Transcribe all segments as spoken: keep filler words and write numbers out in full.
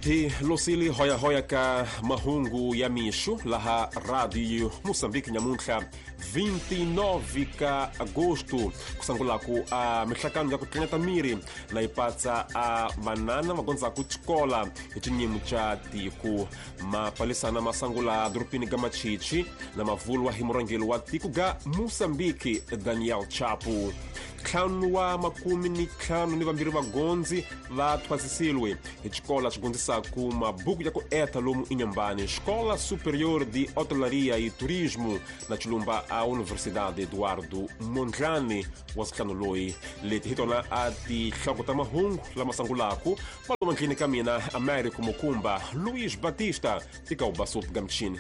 Hi losili hoya-hoya ka mahungu ya mixo laha Radio Moçambique nyamuntlha vinte e nove ka agosto kusangulaku a mihlakano ya ku tlangeta miri na yi patsa a vanana va gondzaku xikola hi xinyimu xa tiko. Mapalisana ma sangula doropini ga Machichi na mavulwa hi murhangeri wa tiko ga Moçambique Daniel Chapo. Ntlhanu wa makumi ni ntlhanu ni vambirhi vagondzi va thwasisiwe hi xikola xi gondzisaku mabuku ya ku eta lomu Inhambane, Escola Superior de Hotelaria e Turismo na Chilumba a Universidade Eduardo Mondlane wa ntlhanu loyi. Leti hi tona a tihloko ta mahungu lama sangulaku maloma ndlini ka mina Américo Mukumba Luiz Batista tika ubasup gamchini.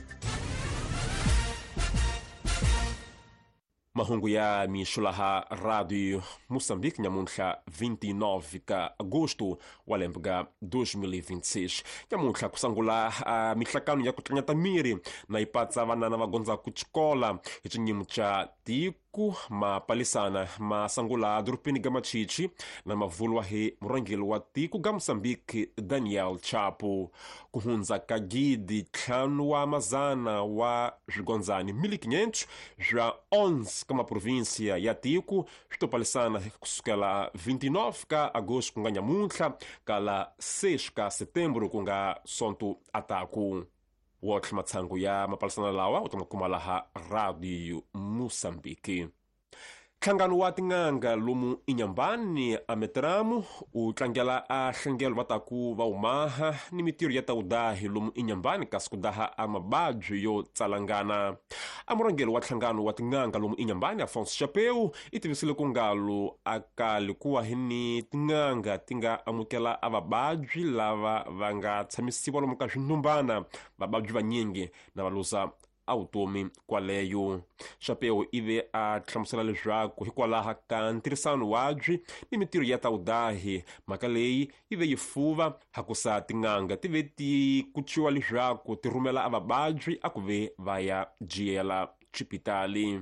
Mahungu ya mixo laha Radio Moçambique nyamuntlha vinte e nove ka agosto wa lembe ga dois mil e vinte e seis. Nyamuntlha ku sangula a mihlakano ya ku tlangeta miri na yi patsa vanana va gondzaku xikola hi xinyimu xa tiko. Mapalisana ma sangula doropini ga Machichi na mavulwa hi murhangeri wa tiko ga Moçambique Daniel Chapo. Ku hundza ka gidi ntlhanu wa mazana wa swigondzani mil e quinhentos swa onze ka maprovinsia ya tiko swi to palisana kusukela vinte e nove ka agosto ku nga nyamuntlha kala seis ka setembro ku nga sonto ataku. Wotlhe matshangu ya mapalisana lawa u ta ma kuma laha Radio Moçambique. Nhlangano wa tin'anga lomu Inhambane a Metramo u tlangela a hlengelo va taku va umaha ni mitirho ya tawudahi lomu Inhambane kasi ku daha a mababyi yo tsalangana. A murhangeri wa nhlangano wa tin'anga lomu Inhambane Afonso Chapeu i tivisile ku ngalo a kali kuwa hi ni tin'anga ti nga amukela a vababyi lava va nga tshamisiwa lomu ka swinhumbana vababyi vanyingi na va luza a vutomi kwaleyo. Chapeu ive a hlamusela leswaku hikwalaho ka ntirhisano wabyi ni mitirho ya tawudahi mhaka leyi yi ve yi fuva hakusa tin'anga ti ve ti kuciwa leswaku ti rhumela a vababyi a ku ve va ya jiyela xipitali.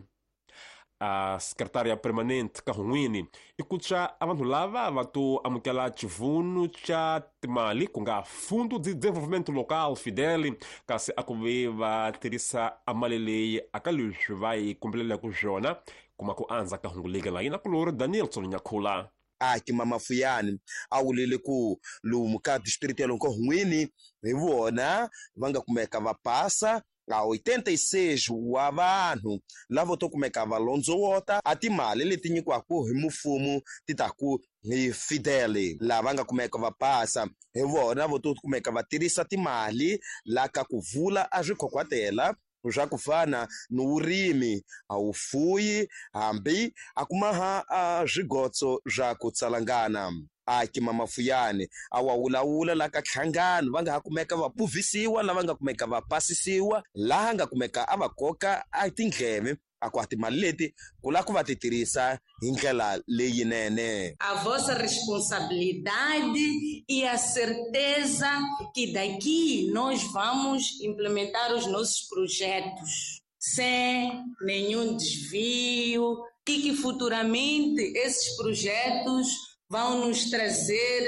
A secretária permanente ka hun'wini i kuca a vanhu lava va to amukela xivunu xa timali ku nga Fundo de Desenvolvimento Local Fidel kasi a ku ve va tirhisa a mali leyi aka leswi va yi kombelelaka swona kuma ku andza ka hungu leki la yina kulori Danielson Nyakhula. Aki Mamafuyani a wulile ku lomu ka district ya lomu ka hun'wini hi vona va nga kumeka va pasa a oitenta e seis wa vanhu lavo to kumeka va londzowota a timali leti nyikiwaka hi mfumo ti ta ku hi Fidel lava nga kumeka va pasa hi vona vo to kumeka va tirhisa timali la ka ku vula a swikhokhwatela swa ku fana ni vurimi a wufuyi hambi a kumaha a swigotso swa ku tsalangana. Aki Mamafuyani a wa wulawula la ka nhlangano va nga ha kumeka va puvisiwa lava nga kumeka va pasisiwa laha nga kumeka a va koka a tindleve a ku a timali leti ku lava ku va ti tirhisa hi ndlela leyinene. A vossa responsabilidade e a certeza que daqui nós vamos implementar os nossos projetos sem nenhum desvio e que futuramente esses projetos vão nos trazer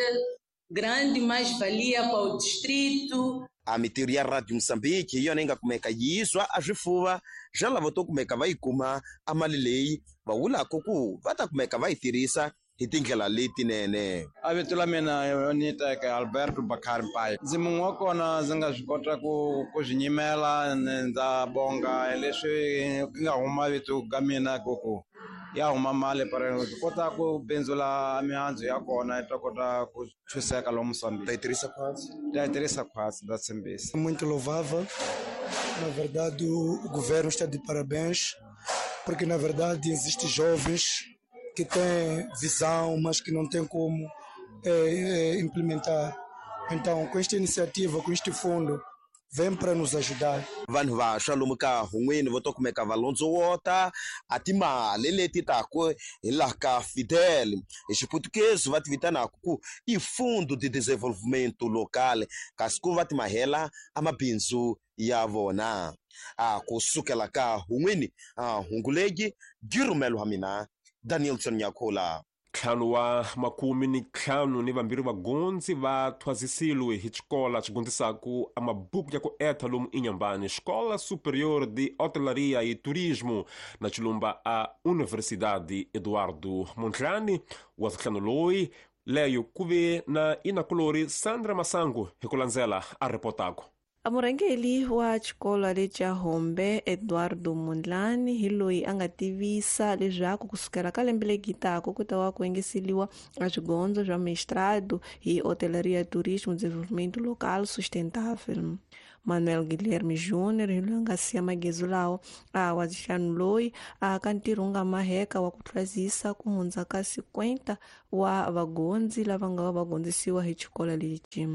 grande mais-valia para o distrito. A mitirho ya Radio Moçambique hi yona yi nga kumeka yiswa a swifuva swa lava to kumeka va yi kuma a mali leyi va vulaka ku va ta kumeka va yi tirhisa hi tindlela letinene. A vito la mina ni teka Alberto Bakari Pai. Ndzi mun'we wa kona ndzi nga swi kota ku ku swi nyimela ndza bonga leswi nga huma vito ka mina ku ku ya huma mali para swi kota ku bindzula mihandzu ya kona yi ta kota ku chuseka lomu Moçambique. Ta yi tirhisa khwatsi? Ta yi tirhisa khwatsi, ndza tshembisa. Muito louvável. Na verdade, o governo está de parabéns, porque na verdade existem jovens que têm visão, mas que não têm como é, é, implementar. Então, com esta iniciativa, com este fundo, vem para nos ajudar. Vanhu vantshwa lomu ka hun'wini vo to kumeka va londzowota a timali leti taku hi laha ka Fidel hi xiputukezi va ti vitanaka ku i Fundo de Desenvolvimento Local kasi ku va ti mahela a mabindzu ya vona. A kusukela ka hun'wini a hungulegi girumelo wa mina Danielson Nyakhula. Ntlhanu wa makumi ni ntlhanu ni vambirhi vagondzi va thwasisiwe hi xikola xi gondzisaku a mabuku ya ku etha lomu Inhambane, Escola Superior de Hotelaria e Turismo na Chilumba a Universidade Eduardo Mondlane. Wa ntlhanu loyi leyo ku ve na inakulori Sandra Masango hi ku landzela a ripotako. A murhangeri wa xikolo lexa Hombe Eduardo Mondlane hi loyi a nga tivisa leswaku kusukela ka lembe leri taka ku ta va ku engeseriwa a swigondzo swa mestrado hi Hotelaria, Turismo, Desenvolvimento Local Sustentável. Manuel Guilherme Júnior hi loyi a nga siya magezu lawa a wa ntlhanu loyi a ka ntirho wu nga maheka wa ku thwasisa ku hundza ka cinquenta wa vagondzi lava nga va va gondzisiwa hi xikolo lexi.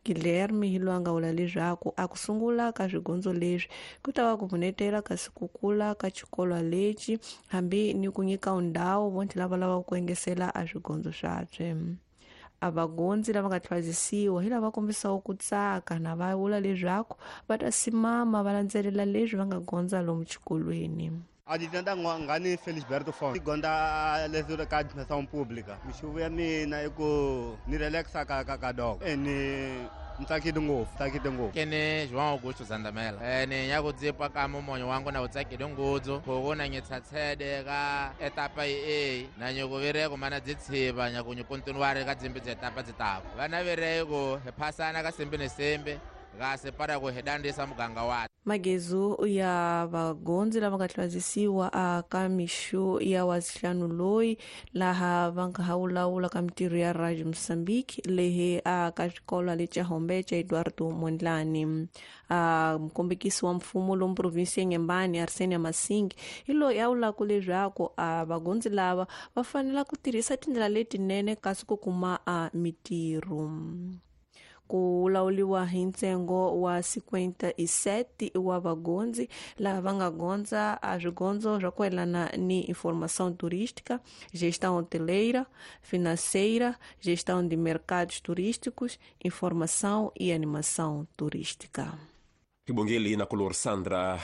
Guilherme hi loyi a nga vula leswaku a ku sungula ka swigondzo leswi ku ta va ku pfunetela kasi ku kula ka xikolo lexi hambi ni ku nyika ndhawu vontlhe lava lavaka ku engesela a swigondzo swabye. A vagondzi lava nga thwasisiwa hi lava kombisaka ku tsaka na va vula leswaku va ta simama va landzelela leswi va nga gondza lomu xikolweni. Aditanda ngani Felisberto Fon gonda leswi ka administração pública mixuvo ya mina i ku ni relaxa ka ka ka dog e ni ntsakile ngopfu tsakile ngopfu kene João Augusto Zandamela ene ya ku dzipa ka mumonyo wangu na utsakile ngudzu khoko na ngitsatsede ka etapa e na nyoko vereko mana dzitshiva nyaku nyukontinware ka dzimbi dza etapa dzitako vana vereko hi phasana ka sembe ne sembe ga separa ku hedandisa muganga wa. Magezu ya vagondzi lava nga thwasisiwa a ka mixo ya wa ntlhanu loyi laha va nga ha wulawula ka mintirho ya Radio Moçambique lehe a ka xikolo lexa Hombe xa Eduardo Mondlane. A mukombekisi wa mfumo lomu provinsi ya Inhambane Arsenio Masingi hi loyi a vulaka leswaku a vagondzi lava va fanela ku tirhisa tindlela letinene kasi ku kuma a mitirho. Ku lawuliwa hi ntsengo wa cinquenta e sete wa vagondzi lava va nga gondza a swigondzo swa ku yelana ni informação turística, gestão hoteleira, financeira, gestão de mercados turísticos, informação e animação turística. Kibongeli na color Sandra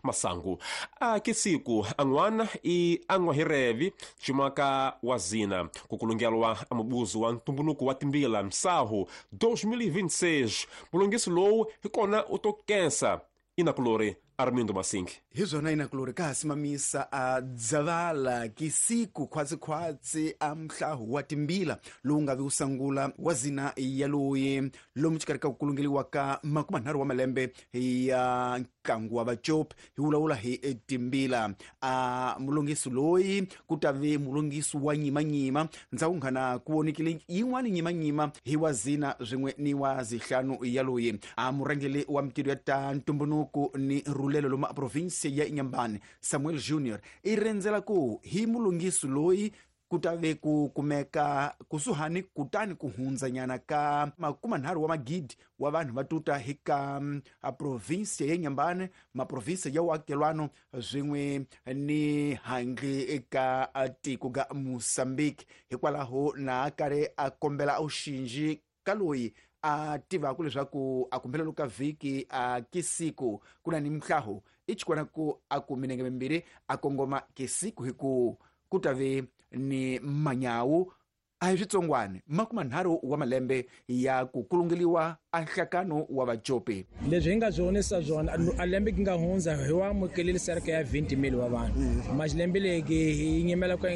Masango. A que siku an'wana i an'wahirevi ximaka wa zina ku kulungelwa a mubuzo wa ntumbuluko wa timbila msahu dois mil e vinte e seis. Mulungisi lowu hi kona u to kensa inakulori Armindo Masingi. Hi swona inakulori ka ha simamisa a dzavala kisiku khwatsikhwatsi a mhlahu wa timbila lowu nga vi wu sangula wa zina ya loyi lomu xikarhi ka ku kulungeliwa ka makumanharhu wa malembe ya ntlangu wa vacopi hi vulavula hi timbila. A mulungisi loyi ku ta ve mulungisi wa nyimanyima ndzhaku nghana ku vonekile yin'wani nyimanyima hi wa zina swin'we ni wa zihlanu ya loyi. A murhangeri wa mintirho ya ta ntumbuluko ni rulelo lomu a provinsia ya Inhambane Samuel Junior i rendzela ku hi mulungisi loyi ku ta ve ku kumeka kusuhani kutani ku hundzanyana ka makumanharhu wa magidi wa vanhu va tuta hi ka a provinsia ya Inhambane, maprovinsia ya uakelwano swin'we ni handle eka tiko ga Mozambique. Hikwalaho na karhi a kombela auxinji ka loyi a tivaka leswaku a kumbelelo ka vhiki a kisiku ku na ni mhlaho i xikwana ku a ku minenge mimbirhi a kongoma kisiku hi ku ku ta ve ni manyawu a hi switsongwana makumanharhu wa malembe ya ku kulungeliwa a nhlakano wa vacopi. Leswi hi nga swi vonisa swona a lembe ki nga hundza hi wa amukelile cerca ya vinte mil wa vanhu, mas lembe leki hi nyimela ku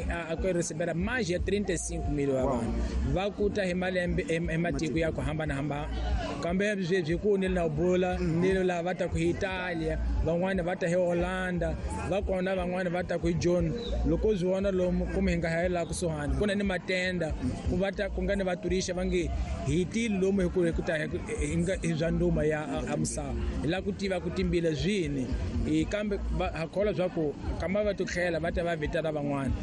ku recebera mais ya trinta e cinco mil wa vanhu va kuta hi malembe hi matiko ya ku hambanahambana. Kambe sweswi ku ni na bula ni lava va ta ku hi Italia, van'wani va ta hi Holanda, va kona van'wani va ta ku hi John. Loko swi vona lomu kumbe hi nga ha la kusuhani ku na ni matenda ku va ta ku nga ni vaturisha va nge hi tile lomu hi ku hi ku ta hi nga hi bya nduma ya a misava hi lava ku tiva ku timbila swini kambe ha kholwa swa ku kamba va titlhela va ta va vitana van'wana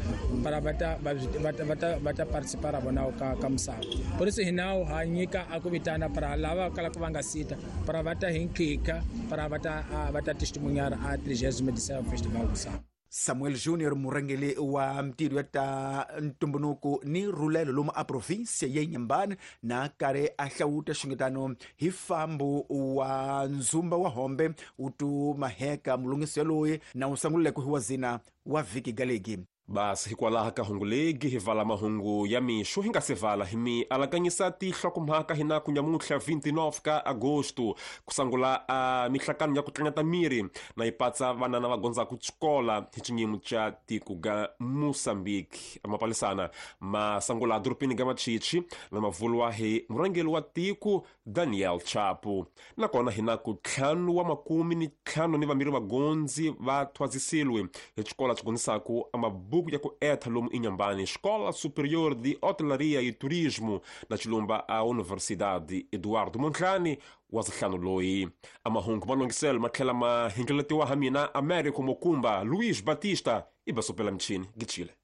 para va ta va va ta va ta participar vona ka ka misava. Por isso hi nawu ha nyika a ku vitana para lava kalaka va nga sita para va ta hi nkhikha para va ta va ta testemunhar a trigésima edição Festival Misava. Samuel Junior murhangeri wa mintirho ya ta ntumbuluko ni rulelo lomu a provinsia ya Inhambane na karhi a hlawuta xingetano hi fambo wa ndzumba wa Hombe u tu maheka mulungisi yaloyi na wu sanguleke hi wa zina wa vhiki galegi. Basi hikwalaho ka hungu legi hi vala mahungu ya mixo hi nga se vala hi mi alakanyisa tihlokomhaka hina ku nyamuntlha vinte e nove ka agosto ku sangula a mihlakano ya ku tlangata miri na yi patsa vanana va gondzaku xikola hi xinyimo xa tiko ga Moçambique. Amapalisana ma sangula dorobeni ga Machichi na mavulwa hi murhangeri wa tiko Daniel Chapo. Nakona hina ku ntlhanu wa makumi ni ntlhanu ni vambirhi vagondzi va thwasisiwe hi xikola xi gondzisaku amabuku ya ku etha lomu Inhambane, Escola Superior de Hotelaria e Turismo na xilumba a Universidade Eduardo Mondlane wa zihlanu loyi. Amahungu malongiselo ma tlhela ma hingeletiwa ha mina Américo Mokumba Luiz Batista i basopela michini gichile.